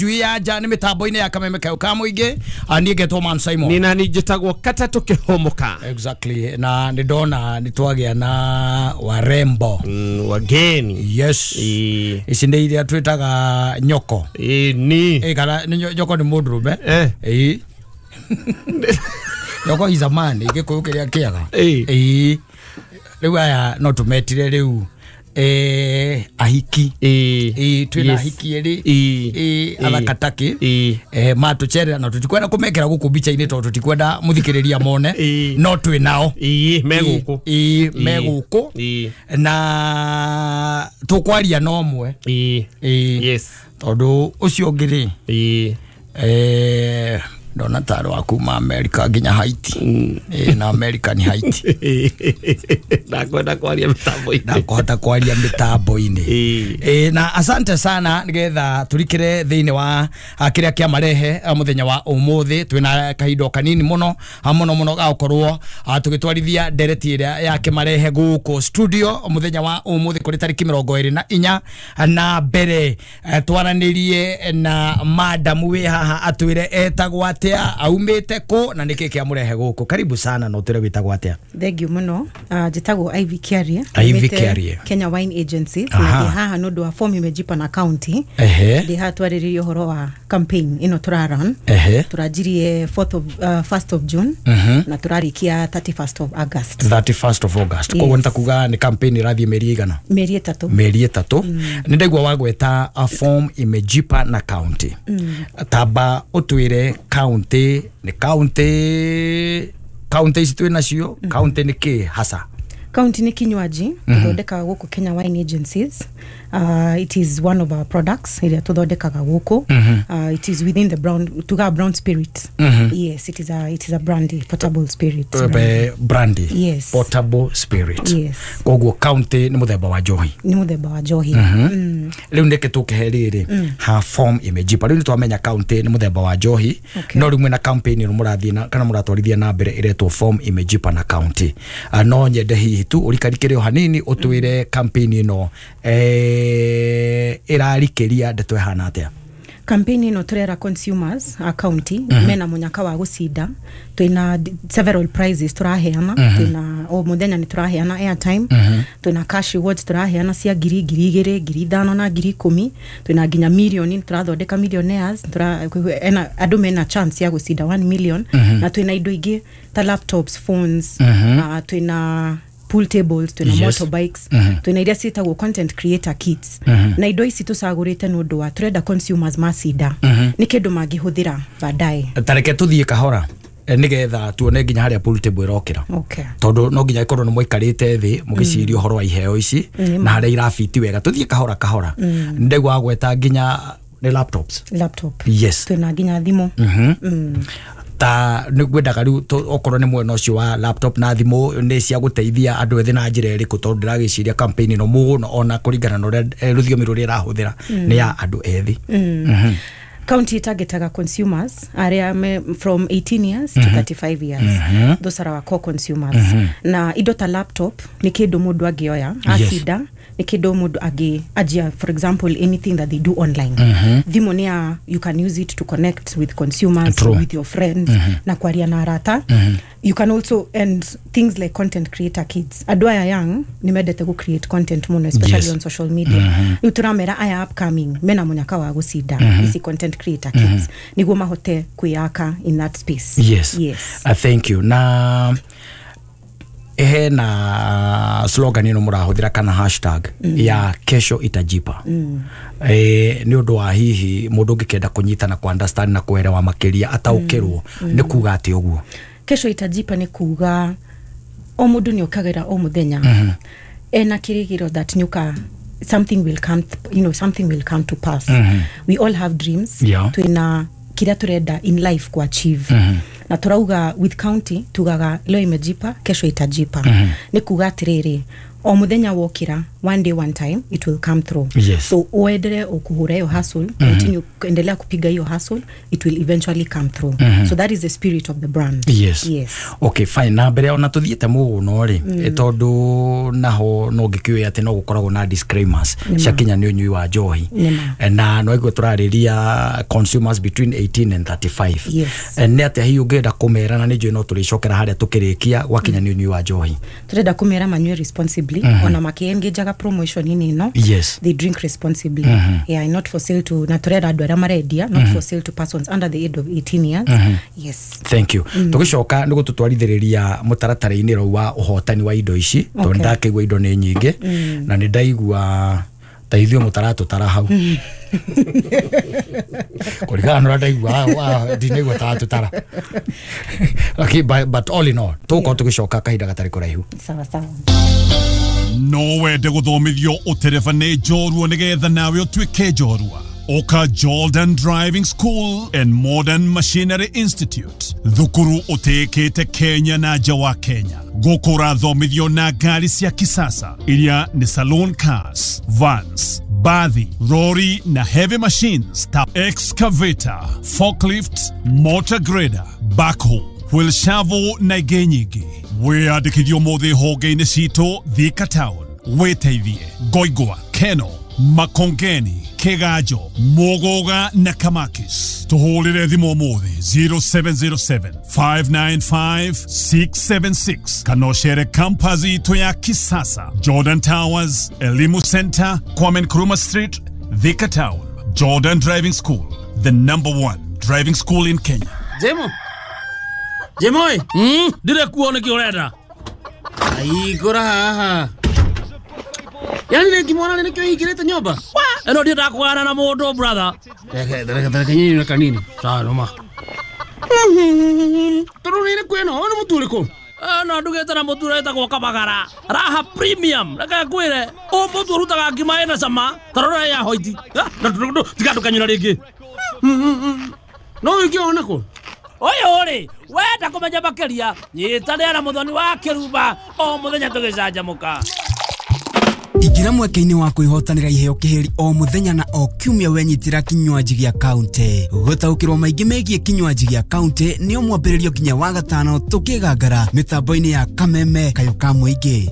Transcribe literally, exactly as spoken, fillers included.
Njui ya nja nĩ mĩtambo-inĩ ya Kameme Kayũ ka Mũingĩ. Niĩ ngetwo Man Simon. Nĩ nani njĩtagwo Katatũ Kĩhũmũka. Exactly, na nĩ ndona nĩ twagĩa na warembo. Mm, wageni. Yes. Ĩĩ. Ici nĩ iria twĩtaga nyoko. Ĩĩ ni. Ĩ kana nĩ nyo- nyoko nĩ mũndũrũme. Eh. Ĩĩ. Nyoko is a man, Gĩkũyũ kĩrĩa kĩega. Ĩĩ. Ĩĩ. Rĩu aya no tũmetire rĩu eh, ahiki. Ĩĩ. Ĩĩ, twĩna Yes. ahiki erĩ. Ĩĩ. Ĩĩ, Ĩĩ. athaka takĩ. Ĩĩ. Eh, matũcerera na tũtikwenda kũmekĩra gũkũ mbica-inĩ tondũ tũtikwenda mũthikĩrĩria mone. Ĩĩ. No twĩ nao. Ĩĩ, me gũkũ. Ĩĩ, me gũkũ. Ĩĩ. Na tũkwaria na ũmwe. Ĩĩ. Ĩĩ. Yes. Tondũ ũcio ũngĩ rĩ, Ĩĩ. eh, ndona tarĩ wa kuma America nginya Haiti. Ĩĩ, na America nĩ Haiti. Ndakwenda kwaria mĩtambo-inĩ. Ndakũhota kwaria mĩtambo-inĩ. Ĩĩ. Ĩĩ, na asante sana nigetha turikire thĩinĩ wa ah, kĩrĩa kĩamarehe ah, mũthenya wa ũmũthĩ. Twĩna kahinda o kanini mũno, ah, mũno mũno ga gũkorwo ah, tũgĩtwarithia ndereti ĩrĩa ya kĩmarehe gũkũ studio mũthenya wa ũmũthĩ kũrĩ tarĩki mĩrongo ĩrĩ na inya. Na mbere eh, twaranĩrie na madamu wĩ haha, atwĩre etagwo atĩa, aumĩte kũ na nĩkĩ kĩamũrehe gũkũ. Karibu sana, na ũtwĩre wĩtagwo atĩa. Thank you muno. uh, njĩtagwo Ivy Kiarie. Ivy Umĩte Kiarie. Kenya Wine Agencies. Aha. Na ndĩ haha nĩ ũndũ wa form imejipa na county. Ehe ndĩ haha twarĩrĩrie ũhoro wa campaign ĩno tũraran. Ehe Tũranjirie fourth of, uh, first of June Mhm. na tũrarĩkia thirty-first of August. thirty-first of August. Yes. Koguo nĩ ta kuga nĩ campaign ĩrathiĩ mĩeri igana? Mĩeri ĩtatũ. Mĩeri ĩtatũ. Nĩ ndaigua wagweta a form imejipa na county. Tamba ũtwĩre county nĩ county, county ici twĩ nacio, county nĩ kĩ hasa? County nĩ kinywaji tũthondekaga gũkũ Kenya Wine Agencies. uh, it is one of our products ĩrĩa tũthondekaga gũkũ. uh, it is within the brown, tugaga brown spirit. Yes, it is a, it is a brandy, portable spirit. Brandy. Brandy. Yes. Portable spirit. Yes. Koguo county nĩ mũthemba wa njohi? Nĩ mũthemba wa njohi mm. Rĩu nĩkĩ tũkĩhe rĩrĩ ha form imejipa? Rĩu nĩ twamenya county nĩ mũthemba wa njohi. Okay. No rĩu mwĩna campaign ĩno mũrathiĩ na kana mũratwarithia na mbere ĩretwo form imejipa na county. Ah, no nyende hihi tu ũrikarikĩre o hanini ũtwĩre campaign ĩno eh, ĩrarikĩria ndeto ĩhana atĩa. Campaign ĩno tũrera consumers a county mm -hmm. mena mũnyaka wa gũcinda. Twĩna d- several prizes tũraheana. mm -hmm. Twĩna o mũthenya nĩ tũraheana airtime, mm -hmm. twĩna cash rewards tũraheana cia ngiri, ngiri igĩrĩ, ngiri ithano na ngiri ikũmi. Twĩna nginya mirioni, tũrathondeka millionaires. Tũra, ena, andũ mena chance ya gũcinda one million. mm -hmm. Na twĩna indo ingĩ ta laptops, phones, mm -hmm. uh, twĩna pool tables, twĩna Yes. motorbikes, mm -hmm. twĩna iria ciĩtagwo content creator kits. mm -hmm. Na indo ici tũcagũrĩte nĩ ũndũ wa tũrenda consumers macinda mm -hmm. nĩ kĩndũ mangĩhũthĩra baadaye. Tareke tũthiĩ kahora eh, nĩgetha tuone nginya harĩa pool table ĩrokĩra, okay. tondũ no nginya ĩkorwo nĩ mũikarĩte thĩ mũgĩciria ũhoro wa iheo ici Nĩ na harĩa irabiti wega. Tũthiĩ kahora kahora. Ndaigua wagweta nginya nĩ laptops. Laptop. Yes. Twĩna nginya thimũ. Mhm. Ta nĩ ngwendaga rĩu tũ- okorwo nĩ mwena ũcio wa laptop na thimũ, nĩ cia gũteithia andũ ethĩ na njĩra ĩrĩkũ? Tondũ ndĩragĩciria campaign ĩno mũno, ona kũringana na ũrĩa eh, rũthiomi rũrĩa ĩrahũthĩra, nĩ ya andũ ethĩ. mm. County ĩtagetaga consumers arĩa me from eighteen years to thirty-five years. Those are our core consumers. Na indo ta laptop nĩ kĩndũ mũndũ angĩoya acinda, nĩ kĩndũ mũndũ angĩ anjia, for example, anything that they do online. Thimũ nĩ ya you can use it to connect with consumers, True. with your friends na kwaria na arata. You can also, and things like content creator kits, andũ aya young nĩ mendete gũ create content mũno, especially Yes. on social media. Rĩu tũramera aya upcoming mena mũnyaka wa gũcinda ici content creator kits nĩguo mahote kwĩyaka in that space. Yes. Yes. uh, thank you. Na hena slogan ĩno mũrahũthĩra kana hashtag mm. ya "Kesho itajipa". mm. e, nĩ ũndũ wa hihi mũndũ ũngĩkenda kũnyita na ku-understand na kuelewa makĩria, ataũkĩrwo mm. nĩ kuga atĩ ũguo? "Kesho itajipa" nĩ kuga o mũndũ nĩ okagĩra o mũthenya ena kĩrĩgĩro that nĩũka something will come you know something will come to pass. We all have dreams. Yeah. Twĩna kĩrĩa tũrenda in life ku achieve, na tũrauga with county tugaga, "Leo imejipa, kesho itajipa." Nĩ kuga atĩrĩrĩ, o mũthenya wokĩra One day, one time, it will come through. Yes. So uendelee ukuhura hiyo hustle, continue endelea kupiga hiyo hustle, it will eventually come through. So that is the spirit of the brand. Yes. Yes. Okay, fine. Na mbere ona tuthiete muno ri, tondu naho no ngikiuĩ atĩ no gũkoragwo na disclaimers ciakinya nĩ ũnyui wa njohi. Nĩma. Na no iguo tũrarĩria consumers between eighteen and thirty-five. Yes. Nĩ atĩa hihi ũngĩenda kũmera, na nĩ njũĩ no tũrĩcokera harĩa tũkĩrĩkia gwakinya nĩ ũnyui wa njohi? Turenda kumera manyue responsibly, ona makiengajaga promotion ini ino. Yes. They drink responsibly. Yeah, not for sale to, na turenda andu aria marendia, not for sale to persons under the age of eighteen years. Yes. Thank you. Tũgĩcoka nĩ gũtũtwarithĩrĩria mũtaratara-inĩ rau wa ũhotani wa indo ici, tondũ Okay. ndakĩigua indo nĩ nyingĩ na nĩ ndaigua ta ithuĩ mũtaratũtara hau kũringana na ũrĩa ndaigua wa- ndinaigua taratũtara. Okay, but, but all in all tũgũkorwo tũgĩcoka kahinda gatarĩ kũraihu. Sawa sawa. No wende gũthomithio ũtereba nĩ njorua nĩgetha nawe ũtuĩke njorua? Oka Jordan Driving School and Modern Machinery Institute, thukuru ũtĩĩkĩte Kenya na nja wa Kenya. Gũkũ ũrathomithio na ngari cia kisasa iria nĩ saloon cars, vans, bathi, lorry na heavy machines ta excavator, forklift, motor grader, backhoe, wheel shovel na ingĩ nyingĩ. Wĩyandĩkithio ũmũthĩ honge-inĩ citũ Thika Town, wĩteithie Ngoingwa, Keno, Makongeni, Kiganjo, Muguga na Kamakis. Tuhũrĩre thimũ ũmũthĩ zero seven zero seven five nine five six seven six kana ũcere campus itũ ya kisasa, Jordan Towers, Elimu Center, Kwame Nkrumah Street, Thika Town. Jordan Driving School, the number one driving school in Kenya. Jemo. Jemo ĩ. Mm, ndire kuo nĩkĩ ũrenda? Aigũra haha. Yani nĩngĩmwona nĩkĩo hingĩrĩte nyũmba? Ĩno ndiendaga kũgana na mũndũ, brother. Reke, reke, reke nyinyi kanini. Sawa, noma. Tondũ nĩ ĩrĩkũ ĩno? Ũyũ nĩ mũtu ũrĩkũ? Ĩno ndugĩte na mũtu ũrĩa wĩtagwo Kabagara. Raha Premium. Reke ngwĩre, ũyũ mũtu ũrutaga ngima ĩna cama, ta rora ya hoiti. Tiga ndũkanyũra rĩngĩ. No ũngĩona kũ? Ũyũ rĩ, wenda kũmenya makĩria, nyitanĩra na Mũthoni wa Kĩrumba o mũthenya tũgĩcanjamũka. Ingĩra mweke-inĩ wa kwĩhotanĩra iheo kĩhĩri o mũthenya na o kiumia wenyitĩra kinywaji gĩa kaunti. Gũtaũkĩrwo maingĩ megiĩ kinywaji gĩa kaunti nĩo mwambĩrĩrio nginya wa gatano tũkĩgangara mĩtambo-inĩ ya Kameme Kayo ka Mũingĩ.